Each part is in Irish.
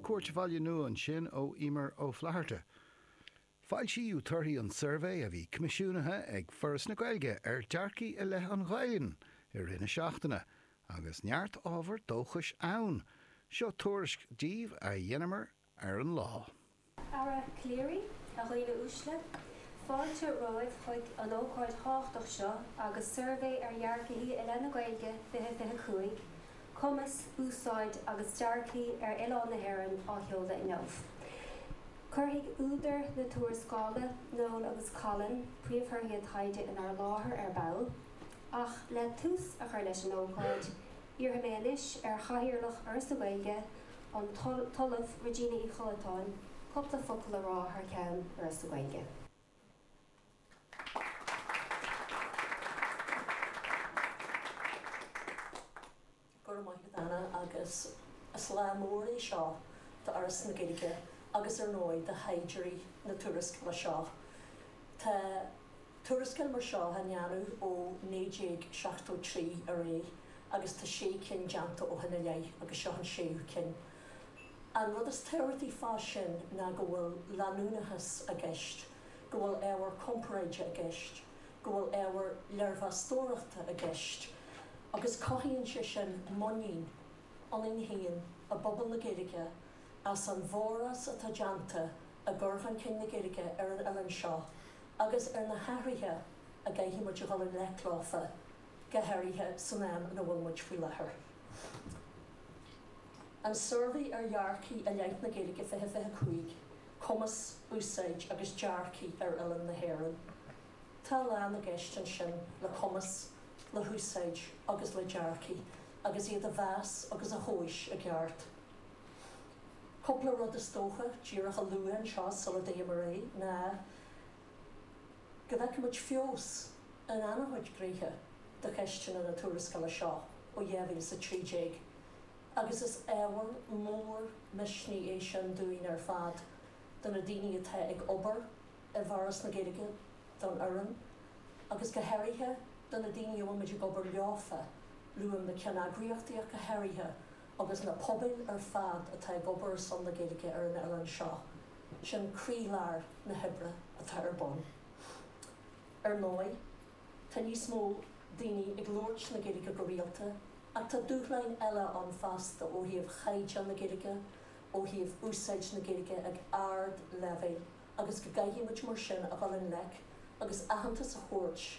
Cúirt Bhaile Nua ansin ó Emer Ó Flatharta. Foilsíodh torthaí an tsuirbhé a bhí coimisiúnaithe ag Foras na Gaeilge ar dearcaí i leith an Ghaelainn i rith na seachtaine, agus neart ábhar dóchais ann. Seo tuairisc daoibh a dheineamar ar an lá. Aire Calleary, a dhaoine uaisle, fáilte romhaibh chuig an ócáid thábhachtach seo agus Suirbhé ar Dhearcthaí i leith na Gaeilge 2025, Cumas, Úsáid agus Dearcthaí ar Oileán na hÉireann á sheoladh inniu. Cuirfidh údair na tuarascála, Noel agus Colin, príomhthorthaí an taighde inár láthair ar ball. Ach le tús a chur leis an ócáid, iarrfaidh mé anois ar Chathaoirleach Fhoras na Gaeilge, an tOllamh Regina Uí Chollatáin cúpla focal a rá thar ceann Fhoras na Gaeilge. Go raibh maith agat Anna agus is lá mór é seo do Fhoras na Gaeilge agus ar ndóigh do thaighdeoirí na tuarascála seo. Tá Tuarascáil mar seo á ndéanamh ó 1973 ar aghaidh agus tá sé cinn déanta ó shin i leith agus seo an séú cinn. An rud is tábhachtaí fá sin ná go bhfuil leanúnachas i gceist, go bhfuil ábhar comparáide i gceist, go bhfuil ábhar léirmheastóireachta i gceist agus cothaíonn sé sin muinín ionainn féin i bpobal na Gaeilge as an bhforás atá déanta i gcur chun cinn na Gaeilge ar an oileán seo agus ar na hathruithe a gcaithfidh muid a dhul i ngleic leofa, go háirithe san am ina bhfuil muid faoi láthair. An Suirbhé ar Dhearcthaí i leith na Gaeilge 2025, Cumas, Úsáid agus Dearcthaí ar Oileán na hÉireann. Tá a lán i gceist ansin le cumas, le húsáid agus le dearcthaí agus iad a mheas agus a thomhais i gceart. Cúpla rud is dócha díreach a lua anseo sula dtéim ar aghaidh ná go bhfeicfidh muid feabhas in an-chuid gnéithe de cheisteanna na tuarascála seo ó 2013 agus is ábhar mór misnigh é sin dúinn ar fad, do na daoine atá ag obair i bhForas na Gaeilge, don fhoireann agus go háirithe do na daoine a bhfuil muid ag obair leofa, luaim na ceanneagraíochtaí ach go háirithe. agus na pobail ar fad atá ag obair ar son na Gaeilge ar an oileán seo, sin croílár na hoibre atá ar bun. Ar ndóigh, tá níos mó daoine ag labhairt na Gaeilge go rialta ach tá dúshláin eile ann fosta ó thaobh chaighdeán na Gaeilge, ó thaobh úsáid na Gaeilge ag ard-leibhéal agus go gcaithfidh muid mar sin a dhul i ngleic agus aitheantas a thabhairt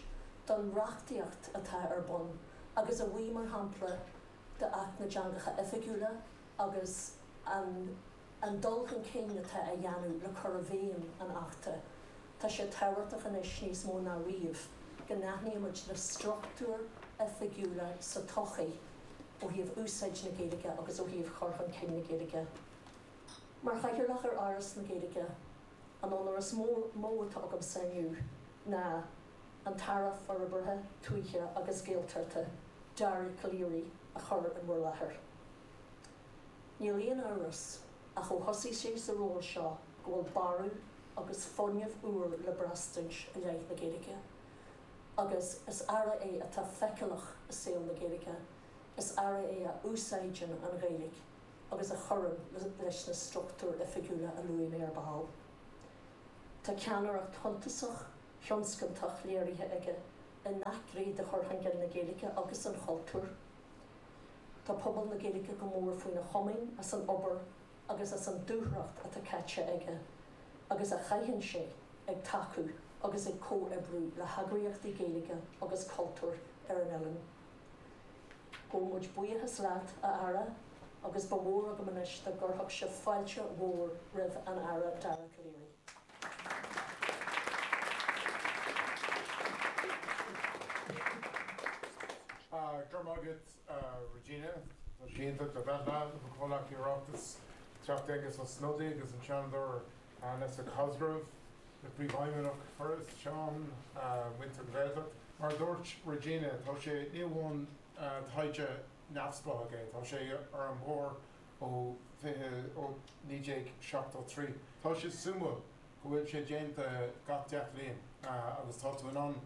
don reachtaíocht atá ar bun agus a bhuí, mar shampla, d'Acht na dTeangacha Oifigiúla agus an an dul chun cinn atá á dhéanamh le cur i bhfeidhm an Achta, tá sé tábhachtach anois níos mó ná riamh go n-aithnímid na struchtúir oifigiúla sa tsochaí ó thaobh úsáid na Gaeilge agus ó thaobh chur chun cinn na Gaeilge. Mar Chathaoirleach ar Fhoras na Gaeilge, an onóir is mó atá agamsa inniu ná an tAire Forbartha Tuaithe agus Gaeltachta, Dara Calleary, a chur in bhur láthair. Níl aon amhras ach ó thosaigh sé sa ról seo go bhfuil borradh agus fuinneamh úr le braistint i leith na Gaeilge. Agus is Aire é atá feiceálach i saol na Gaeilge, is Aire é a úsáideann an Ghaeilge agus a chuireann leis na struchtúir oifigiúla a luaigh mé ar ball. Tá ceannaireacht shuntasach thionscantach léirithe aige i ngach gné de chur chun cinn na Gaeilge agus an chultúir. Tá pobal na Gaeilge go mór faoina chomaoin as an obair agus as an dúthracht atá caite aige agus a chaitheann sé ag tacú agus ag comhoibriú le heagraíochtaí Gaeilge agus cultúir ar an oileán. Gabhann muid buíochas leat, a Aire, agus ba mhór agam anois dá gcuirfeadh sibh fáilte mhór roimh an Aire Dara Calleary. Go raibh maith agat, Regina. Tá sé iontach a bheith leat, mo chomhghleacaí Oireachtais, Teachta Aengus Ó Snodaigh agus an Seanadóir Nessa Cosgrave, le Príomhfheidhmeannach Foras, Seán, muintir na Gaeltacht. Mar a dúirt Regina, tá sé, ní amháin taighde neamhspleách é, tá sé ar an mbord ó 20 ó 1973. Tá sé suimiúil go bhfuil sé déanta gach 10 bhliain agus tá tú in ann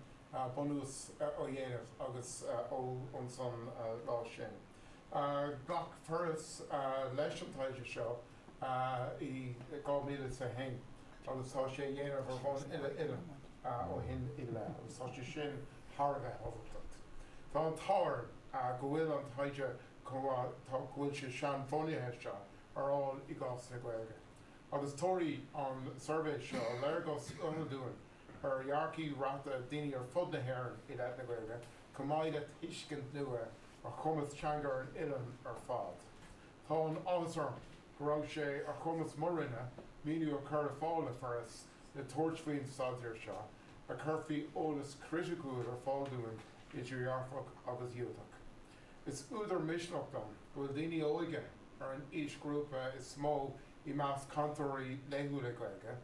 bunús a dhéanamh agus ó ansan lá sin. Ghlac Foras leis an taighde seo. I 2001 agus tá sé á dhéanamh ar bhonn uile-oileáin ó shin i leith agus tá sé sin thar a bheith tábhachtach. Tá an t-ádh orainn go bhfuil an taighde chomh maith go bhfuil sé seanbhunaithe seo ar fháil i gcás na Gaeilge. Agus tabharfaidh an suirbhé seo léargas uathúil dúinn ar dhearcthaí reatha daoine ar fud na hÉireann i leith na Gaeilge chomh maith le tuiscint nua ar chumas teanga an oileáin ar fad. Tá an-áthas orm go raibh sé ar chumas mo Roinne maoiniú a chur ar fáil le Foras le tabhairt faoin staidéar seo, a chuirfidh eolas criticiúil ar fáil dúinn idir dhearfach agus dhiúltach. Is údar misneach dom go bhfuil daoine óga ar an aoisghrúpa is mó i measc cainteoirí laethúla Gaeilge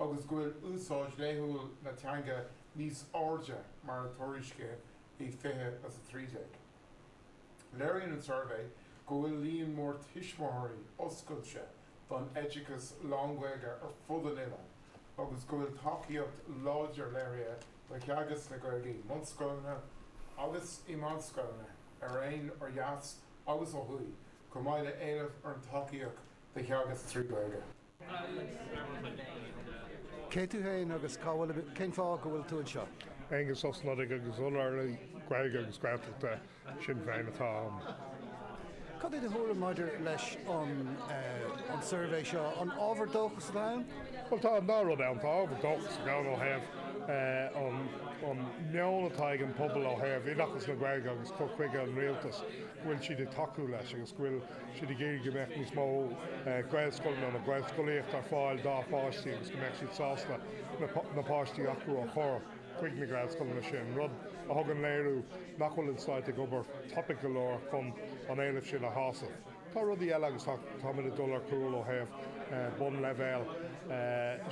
agus go bhfuil úsáid laethúil na teanga níos airde mar a tuairiscíodh i 2013. Léiríonn an suirbhé go bhfuil líon mór tuismitheoirí oscailte don oideachas lán-Ghaeilge ar fud an oileáin agus go bhfuil tacaíocht láidir léirithe do theagasc na Gaeilge i mbunscoileanna agus i meánscoileanna ar aon ó dheas agus ó thuaidh, chomh maith le éileamh ar an tacaíocht do theagasc trí Ghaeilge. Cé tú féin agus cá bhfuil, cén fáth go bhfuil tú anseo? Aengus Ó Snodaigh agus Urlabhraí Gaeilge agus Gaeltachta Shinn Féin atá ann. Cad é do thuairim maidir leis an an suirbhé seo? An ábhar dóchais atá ann? Bhuel tá an dá rud ann. Tá ábhar dóchais ann ó thaobh an meon atá ag an pobal ó thaobh oideachas na Gaeilge agus cur chuige an rialtais, go bhfuil siad ag tacú leis agus go bhfuil siad ag iarraidh go mbeadh níos mó Gaelscoileanna nó Gaelscolaíocht ar fáil dá bpáistí agus go mbeadh siad sásta na páistí acu a chur chuig na Gaelscoileanna sin, rud a thugann léiriú nach bhfuil an Stát ag obair tapaidh go leor chun an éileamh sin a shásamh. Tá rudaí eile agus táimid ag dul ar chúl ó thaobh bunleibhéal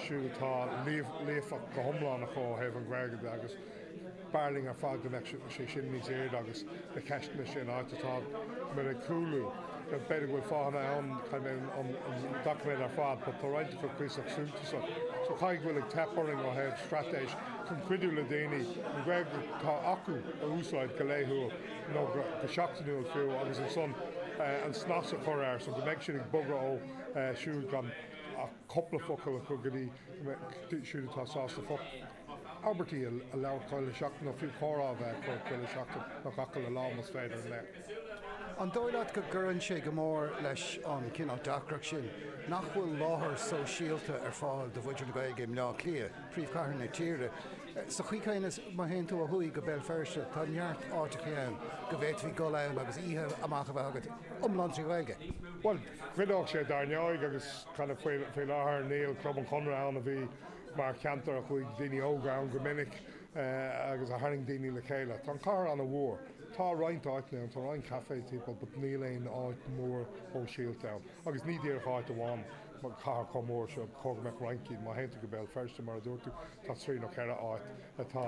siúd atá líofa go hiomlán acu ó thaobh an Ghaeilge de agus b'fhearr linn ar fad go mbeadh sé sin níos airde agus na ceisteanna sin áit atá muid ag cúlú. B'fhéidir go bhfuil fáthanna ann, caithfidh mé an doiciméad ar fad, but tá roinnt acu cuíosach suntasach. So caithfidh go bhfuil ag teip orainn ó thaobh straitéis chun cuidiú le daoine an Ghaeilge atá acu a úsáid go laethúil nó go seachtainiúil fiú agus ansan an snas a chur air so go mbeidh siad ag bogadh ó siúd gan ach cúpla focal acu go dtí siúd atá sásta abairtí a labhairt chuile sheachtain nó fiú comhrá a bheith acu chuile sheachtain nó gach uile lá más féidir le. An dóigh leat go gcuireann sé go mór leis an cineál deacracht sin nach bhfuil láthair sóisialta ar fáil do mhuintir na Gaeilge i mBleá Cliath, príomhchathair na tíre? Sa chaoi chéanna, má théann tú ó thuaidh go Béal Feirste, tá neart áiteacha ann go bhféadfaí dul ann agus oíche amach a bheith agat iomlán trí Ghaeilge. Bhuel, chuideodh sé dar ndóigh agus kind of faoi láthair níl Club an Chonradh ann a bhí mar cheantar a chuaigh daoine óga ann go minic agus a tharraing daoine le chéile. Tá an chathair an-mhór. Tá roinnt áiteanna ann, tá roinnt café timpeall but níl aon áit mhór shóisialta ann. Agus ní díreach áit amháin, mar cathair chomh mór seo, ba chóir go mbeadh roinnt cinn. Má théann tú go Béal Feirste, mar a dúirt tú, tá trí nó ceithre áit atá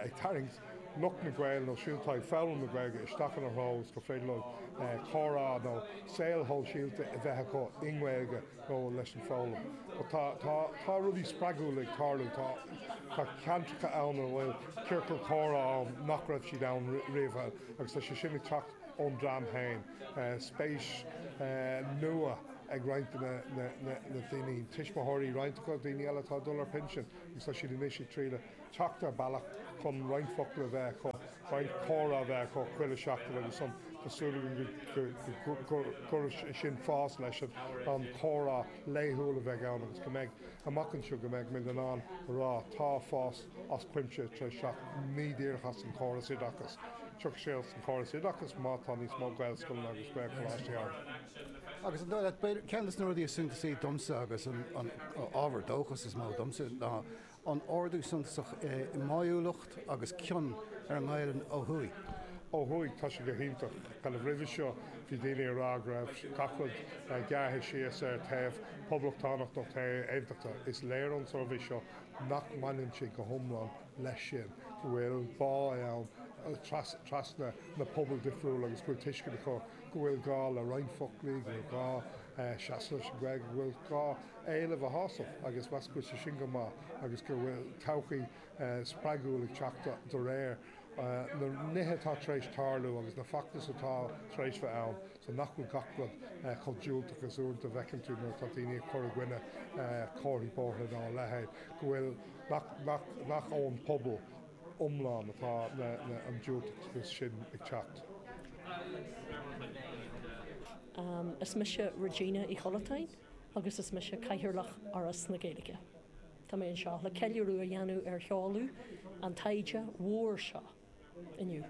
ag tarraingt lucht na Gaeilge nó siúd atá ag foghlaim na Gaeilge isteach ina threo is gur féidir leo comhrá nó saol shóisialta a bheith acu i nGaeilge. nó leis an foghlaim. But tá, tá, tá rudaí spreagúla ag tarlú. Tá, tá ceantracha ann a bhfuil ciorcal comhrá ann nach raibh siad ann riamh agus tá sé sin ag teacht ón dream féin. Spéis nua ag roinnt de na, na, na, na daoine, tuismitheoirí roinnt acu, daoine eile atá ag dul ar pinsean agus tá siad anois ag triail teacht ar bealach chun roinnt focal a bheith acu, roinnt comhrá a bheith acu chuile sheachtain agus ansan tá súil againn go gcuirfidh sin fás leis an chomhrá laethúil a bheidh ann agus go mbeidh, amach anseo, go mbeidh muid in ann a rá tá fás as cuimse tar éis teacht, ní díreach as an chóras oideachais. Tiocfaidh sé as an chóras oideachais má tá níos mó Gaelscoileanna agus Gaelcholáistí ann. Agus an dóigh leat, ceann de na rudaí is suntasaí domsa agus an ábhar dóchais is mó domsa ná an ardú suntasach i mbáúlacht agus cion ar an nGaelainn ó thuaidh. Ó thuaidh, tá sé go hiontach. Kind of roimhe seo, bhí daoine ag rá go raibh gach rud gearrtha síos ar taobh poblachtánach nó taobh aontachtach. Is léir ón suirbhé seo nach mbaineann sé go hiomlán leis sin, go bhfuil bá ann trasna na pobail difriúla agus go bhfuil tuiscint acu go bhfuil gá le roinnt foclaí, go bhfuil gá seasamh leis an Ghaeilge, go bhfuil gá éileamh a shásamh agus meas go bhfuil sé sin go maith agus go bhfuil todhchaí spreagúil ag teacht de réir na nithe atá tar éis tarlú agus na feachtais atá tar éis bheith ann. So nach bhfuil gach rud chomh diúltach is uaireanta a bhfeiceann tú nuair atá daoine ag cur i gcoinne comharthaí bóithre dá leithéid, go bhfuil, nach, nach, nach ón pobal iomlán atá na, na, an diúltachas sin ag teacht. Is mise Regina Uí Chollatáin agus is mise Cathaoirleach Fhoras na Gaeilge. Tá mé anseo le ceiliúradh a dhéanamh ar sheoladh an taighde mhóir seo inniu.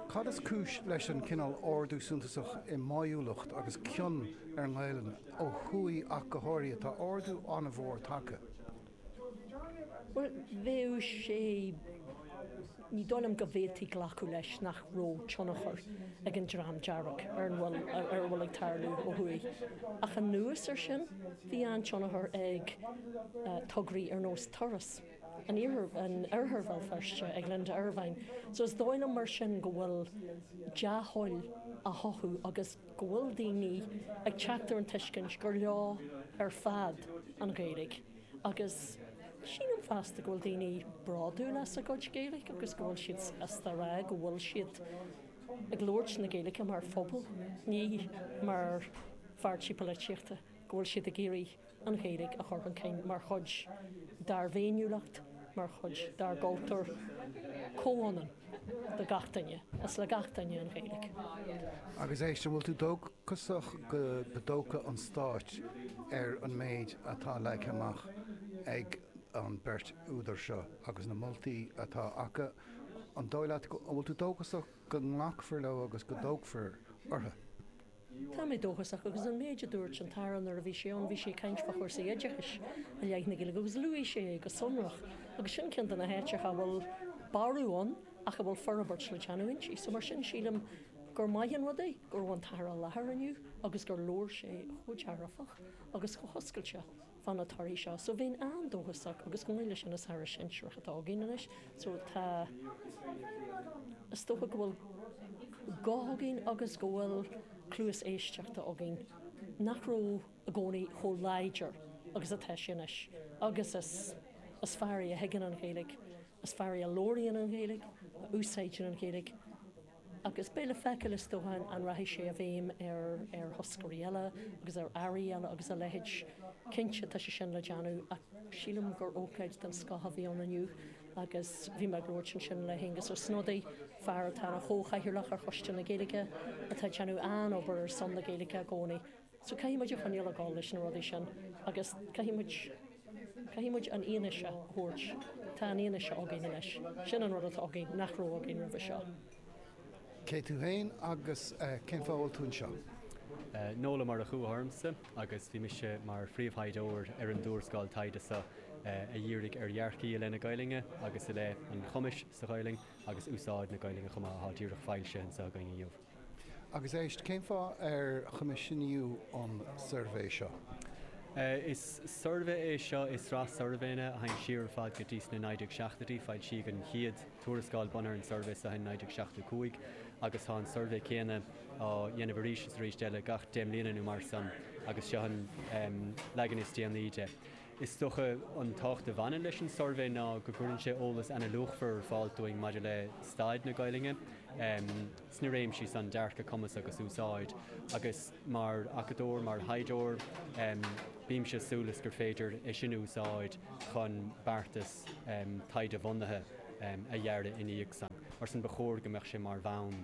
Cad is cúis leis an cineál ardú suntasach i mbáúlacht agus cion ar an nGaelainn, ó thuaidh ach go háirithe? Tá ardú an-mhór tagtha. Bhuel, bheadh sé, ní dóigh liom go bhféadfaí glacadh leis nach raibh tionchar ag an Dream Dearg ar an bhfuil, ar a bhfuil ag tarlú ó thuaidh. Ach anuas air sin, bhí an-tionchar ag tograí ar nós Turas an Iarthair, in Oirthear Bhéal Feirste ag Linda Ervine. So is dóigh liom mar sin go bhfuil dea-thoil á chothú agus go bhfuil daoine ag teacht ar an tuiscint gur leo ar fad an Ghaeilge. Agus sílim fosta go bhfuil daoine bródúil as a gcuid Gaeilge agus go bhfuil siad sásta a rá go bhfuil siad ag labhairt na Gaeilge mar phobal, ní mar pháirtí polaitíochta, go bhfuil siad ag iarraidh an Ghaeilge a chur chun cinn mar chuid dár bhféiniúlacht, mar chuid dár gcultúr comhionann do gach duine. Is le gach duine an Ghaeilge. Agus éist, an bhfuil tú dóchasach go dtógfaidh an Stát ar an méid atá leagtha amach ag an beirt údar seo agus na moltaí atá acu? An dóigh leat, an bhfuil tú dóchasach go nglacfar leo agus go dtógfar orthu? Tá mé dóchasach agus an méid a dúirt an tAire nuair a bhí sé ann, bhí sé ag caint fá chúrsaí oideachais i leith na Gaeilge agus luaigh sé é go sonrach agus sin ceann de na háiteacha a bhfuil borradh ann ach a bhfuil forbairt le déanamh inti. So mar sin sílim gur maith an rud é go raibh an tAire i láthair inniu agus gur labhair sé chomh dearfach agus chomh hoscailte fá na torthaí seo. So bheinn an-dóchasach agus chomh maith leis sin is Aire sinsearach atá againn anois so tá, is dócha go bhfuil guth againn agus go bhfuil cluas éisteachta againn nach raibh i gcónaí chomh láidir agus atá sé anois agus is is fear é a thuigeann an Ghaeilge, is fear é a labhraíonn an Ghaeilge, a úsáideann an Ghaeilge. Agus beidh le feiceáil, is dócha, an rachaidh sé i bhfeidhm ar ar thoscairí eile agus ar airí eile agus a leithéid. Cinnte, tá sé sin le déanamh ach sílim gur ócáid den scoth a bhí ann inniu agus bhí mé ag labhairt ansin le hAengus Ó Snodaigh, fear atá ina chomhchathaoirleach ar Choiste na Gaeilge, atá ag déanamh an-obair ar son na Gaeilge i gcónaí. So caithfidh muid a choinneáil ag dul leis na rudaí sin agus caithfidh muid, caithfidh muid an fhianaise a thabhairt. Tá an fhianaise againn anois. Sin an rud atá againn nach raibh againn roimhe seo. Cé tú féin agus cén fáth a bhfuil tú anseo? Noel Ó Murchú atá ormsa agus bhí mise mar phríomhthaighdeoir ar an dtuarascáil taighde seo a dhírigh ar dhearcthaí i leith na Gaelainne agus i leith an chumais sa Ghaelainn agus úsáid na Gaelainne chomh maith atá díreach foilsithe anseo againn inniu. Agus éist, cén fáth ar choimisiúnaíodh an suirbhé seo? Is suirbhé é seo i sraith suirbhéanna a théann siar ar fad go dtí sna 1970idí. Foilsíodh an chéad tuarascáil bunaithe ar an suirbhé seo in 1975 agus tá an suirbhé céanna á dhéanamh arís is arís eile gach 10 mbliana nó mar san agus seo an leagan is déanaí de. Is dócha an tábhacht a bhaineann leis an suirbhé ná go gcuireann sé eolas ana-luachmhar ar fáil dúinn maidir le staid na Gaelainne sna réimsí san, dearcadh, cumas agus úsáid. Agus mar acadóir, mar thaighdeoir, bímse ag súil is gur féidir é sin a úsáid chun beartas taighde-bhunaithe a dhearadh ina dhiaidh san. Mar sin ba chóir go mbeadh sé mar bhonn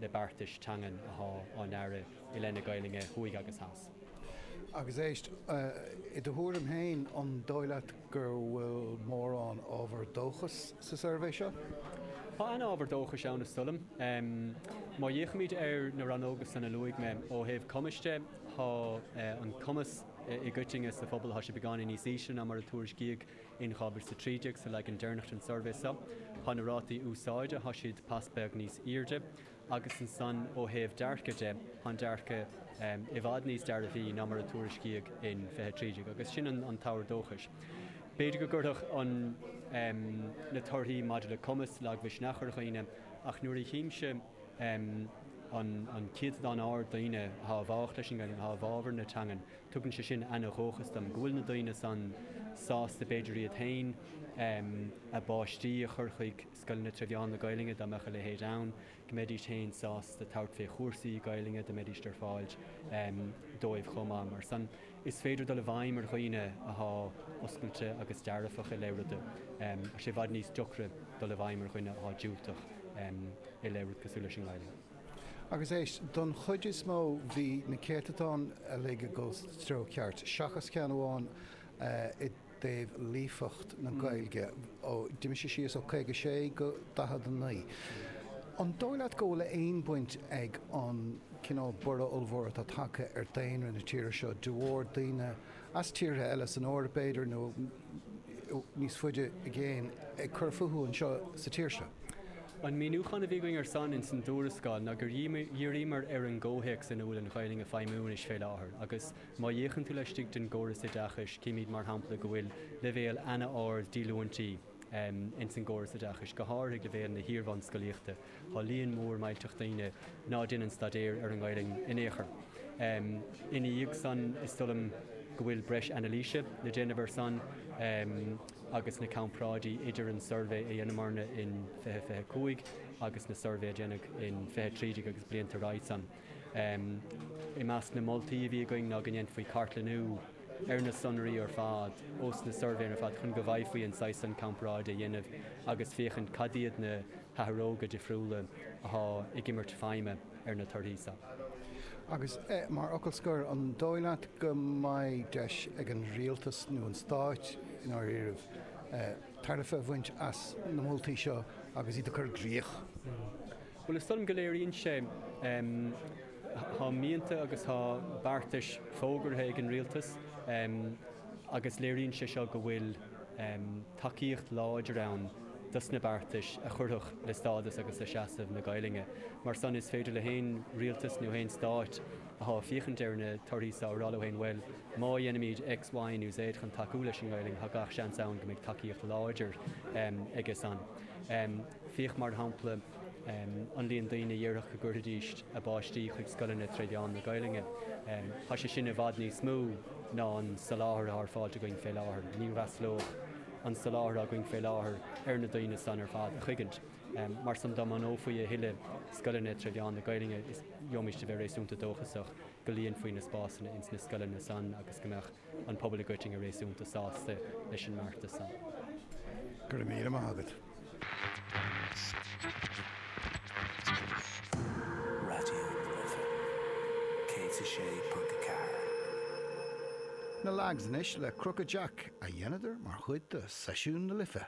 le beartais teangan athá á ndearadh i leith na Gaelainne thuaidh agus theas. Agus éist, i do thuairim féin, an dóigh leat go bhfuil mórán ábhar dóchais sa suirbhé seo? Tá an-ábhar dóchais ann, is dóigh liom. Má fhéachaimid ar na rannóga san a luaigh mé, ó thaobh cumais de, tá an cumas i gcoitinne sa phobal, tá sé beagáinín níos ísle ná mar a tuairiscíodh in 2013 sa leagan deireanach den suirbhé seo. Tá na rátaí úsáide, tá siad pas beag níos airde. Agus ansan ó thaobh dearcaidh de, tá an dearcadh i bhfad níos dearfaí ná mar a tuairiscíodh in 2013, agus sin an t-ábhar dóchais. B'fhéidir go gcuirfeadh an na torthaí maidir le cumas lagmhisneach ar dhaoine, ach nuair a chímse an an céatadán ard daoine atá i bhfách leis an nGaelainn, atá i bhfabhar na teangan, tugann sé sin ana-dhóchas dom, go bhfuil na daoine san sásta b'fhéidir iad féin, a bpáistí a chur chuig scoileanna tré mheán na Gaelainne dá mbeadh a leithéid ann, go mbeidís féin sásta tabhairt fé chúrsaí Gaelainne dá mbeidís ar fáil dóibh chomh maith. Mar san, is féidir dul i bhfeidhm ar dhaoine athá oscailte agus dearfach i leith ruda, tá sé i bhfad níos deocra dul i bhfeidhm ar dhuine athá diúltach i leith rud cosúil leis an nGaelainn. Agus éist, don chuid is mó bhí na céatadáin uilig ag dul sa treo ceart, seachas ceann amháin i dtaobh líofacht na Gaeilge. Ó, d'imigh sé síos ó 56 go 49. An dóigh leat go bhfuil aon bhaint ag an cineál borradh ollmhór atá tagtha ar daonra na tíre seo de bharr daoine as tíortha eile san Eoraip b'fhéidir nó níos faide i gcéin ag cur fúthu anseo sa tír seo? An míniúchán a bhí againn ar san ins an dtuarascáil ná gur dhíríomar ar an gcomhthéacs ina bhfuil an Ghaelainn ag feidhmiú anois fé láthair agus Má fhéachann tú laistigh den gcóras oideachais, címid mar shampla go bhfuil leibhéal ana-ard díolúintí ins an gcóras oideachais, go háirithe ag leibhéal na hiar-bhunscolaíochta. Tá líon mór millteach daoine ná déanann staidéar ar an nGaelainn in aon chor. Ina dhiaidh san, is dóigh liom go bhfuil breis anailíse le déanamh ar san agus na comparáidí idir an suirbhé a dheineamarna in 2025 agus na suirbhé a déanadh in 2013 agus blianta roimhe san. I measc na moltaí a bhí againn ná go ndéanfaí cartlannú ar na sonraí ar fad ós na suirbhéanna ar fad chun go bhféadfaí an saghas san comparáide a dhéanamh agus féachaint cad iad na hathróga difriúla athá ag imirt feidhme ar na torthaí seo. Agus mar fhocal scoir, an dóigh leat go mbeidh deis ag an rialtas nó an stáit i ndáiríribh tairbhe a bhaint as na moltaí seo agus iad a chur i gcrích? Bhuel, is dóigh liom go léiríonn sé, tá mianta agus tá beartais fógartha ag an rialtas agus léiríonn sé seo go bhfuil tacaíocht láidir ann dos na beartais a chuirfeadh le stádas agus le seasamh na Gaelainne. Mar san, is féidir le haon rialtas nó haon stáit athá ag féachaint ar na torthaí seo a rá leo féin, bhuel, má dhéanaimid X, Y nó Z chun tacú leis an nGaelainn, tá gach seans ann go mbeidh tacaíocht láidir aige san. Féach, mar shampla, an líon daoine a déarfadh go gcuirfidís a bpáistí chuig scoileanna tré mheán na Gaelainne. Tá sé sin i bhfad níos mó ná an soláthar atá ar fáilt againn fé láthair. Ní fhreastalódh an soláthar atá againn fé láthair ar na daoine san ar fad a chuigint. Mar san, dá mbunófaí a thuilleadh scoileanna tré mheán na Gaelainne, is gheobhaimís a bheith réasúnta dóchasach go líonfaí na spásanna ins na scoileanna san agus go mbeadh an pobal i gcoitinne réasúnta sásta leis an mbeartas san. Go raibh míle maith agat. Raidió na Life 106.4. Na Lags anois le Crooked Jack a dheineadar mar chuid de Seisiún na Life.